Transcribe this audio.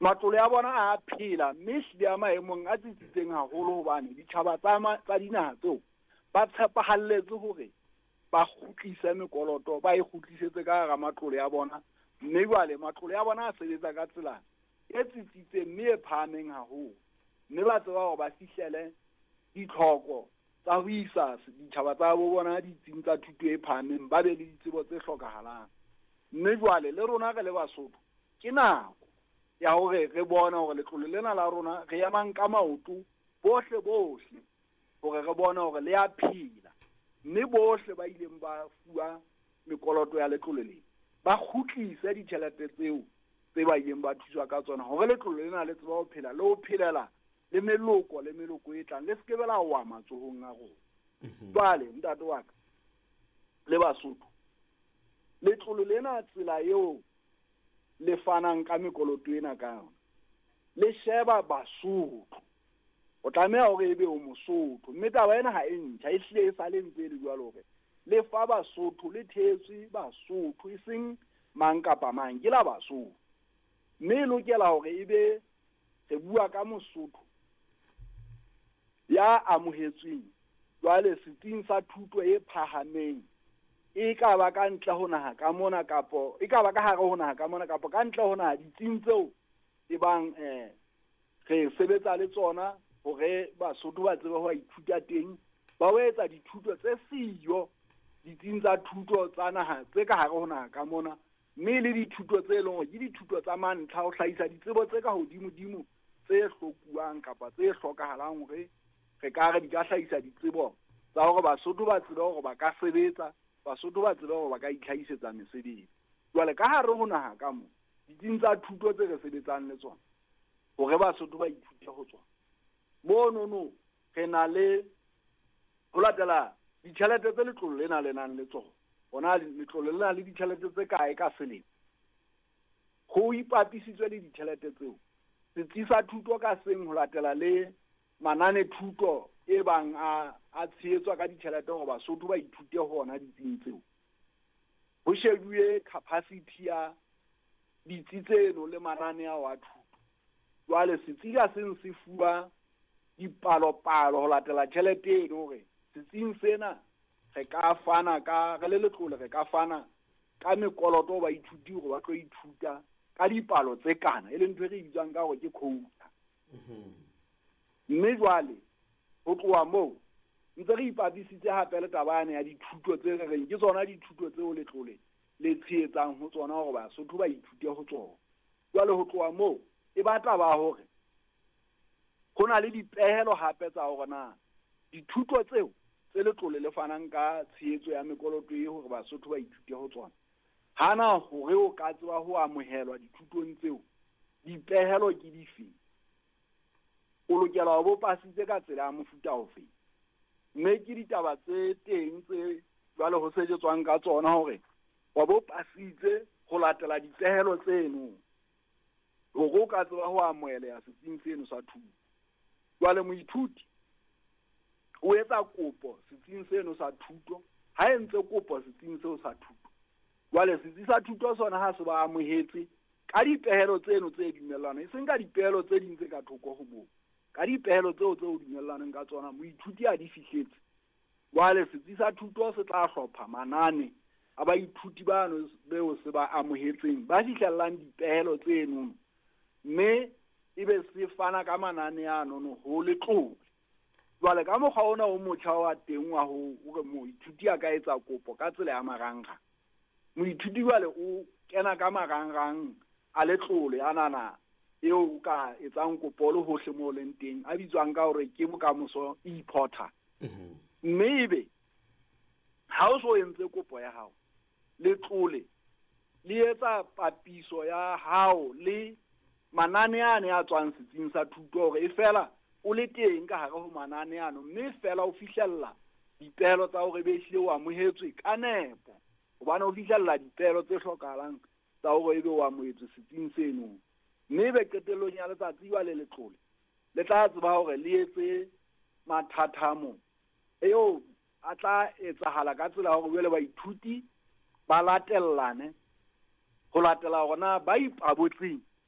Matlole a bona a phela mme ehlile a maemong a tsitsitseng haholo hobane ditjhaba tsa tsa dinaha tseo ba tshepahalletse hore ba kgutlise mekoloto, ba e kgutlisetse ka hara matlole a bona. Mme jwale matlole a bona a sebetsa ka tsela e tsitsitseng mme e phahameng haholo. Mme ba tseba hore ba fihlele ditlhoko tsa ho isa ditjhaba tsa bo bona ditsing tsa thuto e phahameng, ba be le ditsebo tse hlokahalang. Mme jwale le rona re le Basotho, ke nako ya hore re bone hore letlole lena la rona re emang ka maoto bohle bohle hore re bone hore le a phela. Mme bohle ba ileng ba fuwa mekoloto ya letlole lena, ba kgutlise ditjhelete tseo tse ba ileng ba thuswa ka tsona hore letlole lena le tsebe ho phela le ho phelela le meloko le meloko e tlang, le se ke be la wa matsohong a rona. Jwale ntate wa ka le Basotho, letlole lena tsela eo le fanang ka mekoloto ena ka yona, le sheba Basotho. O tlameha hore ebe o Mosotho, mme taba ena ha e ntjha, e hlile e sale ntse e le jwalo hore le fa Basotho, le thehetswe Basotho, e seng mang kapa mang, ke la Basotho. Mme e lokela hore ebe re bua ka Mosotho ya amohetsweng jwale setsing sa thuto e phahameng, e ka ba ka ntle ho naha ka mona kapo e ka ba ka hare ho naha ka mona kapo ka ntle ho naha, ditsing tseo e bang re sebetsa le tsona hore Basotho ba tsebe ho ithuta teng, ba ho etsa dithuto tse siyo ditsing tsa thuto tsa naha tse ka hare ho naha ka mona, mme le dithuto tse leng hore ke dithuto tsa mantlha ho hlahisa ditsebo tse ka hodimo-dimo tse hlokuwang kapa tse hlokahalang hore re ka re di ka hlahisa ditsebo tsa hore Basotho ba tsebe hore ba ka sebetsa, Basotho ba tsebe hore ba ka itlhahisetsa mesebetsi. Jwale ka hare ho naha ka mo, ditsing tsa thuto tse re sebetsang le tsona hore Basotho ba ithute ho tsona, monono re na le ho latela ditjhelete tse letlole lena le nang le tsona. Hona letlole lena le ditjhelete tse kae ka selemo? Ho ipapisitswe le ditjhelete tseo, setsi sa thuto ka seng ho latela le manane thuto e bang a tshehetswa ka ditjhelete hore Basotho ba ithute ho ona ditsing tseo. Ho shebuwe capacity ya ditsi tseno le manane ao a thuto. Jwale setsi ka seng se fuwa dipalopalo ho latela tjhelete eno hore setsing sena re ka fana ka, re le letlole re ka fana ka mekoloto ho baithuti hore ba tlo ithuta ka dipalo tse kana, e leng ntho e re bitswang ka hore ke quota. Mme jwale ho tloha moo ntse re ipapisitse hape le taba yane ya dithuto tse re reng ke tsona dithuto tseo letlole le tshehetsang ho tsona hore Basotho ba ithute ho tsona. Jwale ho tloha moo e ba taba hore ho na le dipehelo hape tsa hore na dithuto tseo tse letlole le fanang ka tshehetso ya mekoloto e hore Basotho ba ithute ho tsona, hana hore o ka tseba ho amohelwa dithutong tseo, dipehelo ke dife? O lokela ho bo pasitse ka tsela ya mofuta ofe? Mme ke ditaba tse teng tse jwale ho sejetswang ka tsona hore wa bo pasitse ho latela dipehelo tseno hore o ka tseba ho amoheleha setsing seno sa thuto. Jwale moithuti o etsa kopo setsing seno sa thuto, ha entse kopo setsing seo sa thuto, jwale setsi sa thuto sona ha se ba amohetse ka dipehelo tseno tse dumellanang, e seng ka dipehelo tse ding tse ka thoko ho moo, ka dipehelo tseo tse o dumellaneng ka tsona moithuti a di fihletse. Jwale setsi sa thuto se tla hlopha manane a baithuti bano beo se ba amohetseng ba fihlellang dipehelo tseno, mme ebe se fana ka manane ano ho letlole. Jwale ka mokgwa ona o motjha wa teng wa hore moithuti a ka etsa kopo ka tsela ya marangrang, moithuti jwale o kena ka marangrang a letlole anana eo o ka etsang kopo le hohle moo leng teng, a bitswang ka hore ke Bokamoso e-portal. Mme ebe ha o so entse kopo ya hao, letlole le etsa papiso ya hao le manane ane a tswang setsing sa thuto hore e fela o le teng ka hare ho manane ano, mme fela o fihlella dipehelo tsa hore be ehlile o amohetswe ka nepo, hobane o fihlella dipehelo tse hlokahalang tsa hore ebe o amohetswe setsing seno. Mme ebe qetellong ya letsatsi jwale letlole le tla tseba hore le etse mathathamo eo a tla etsahala ka tsela ya hore jwale baithuti ba latellane ho latela hore na ba ipabotseng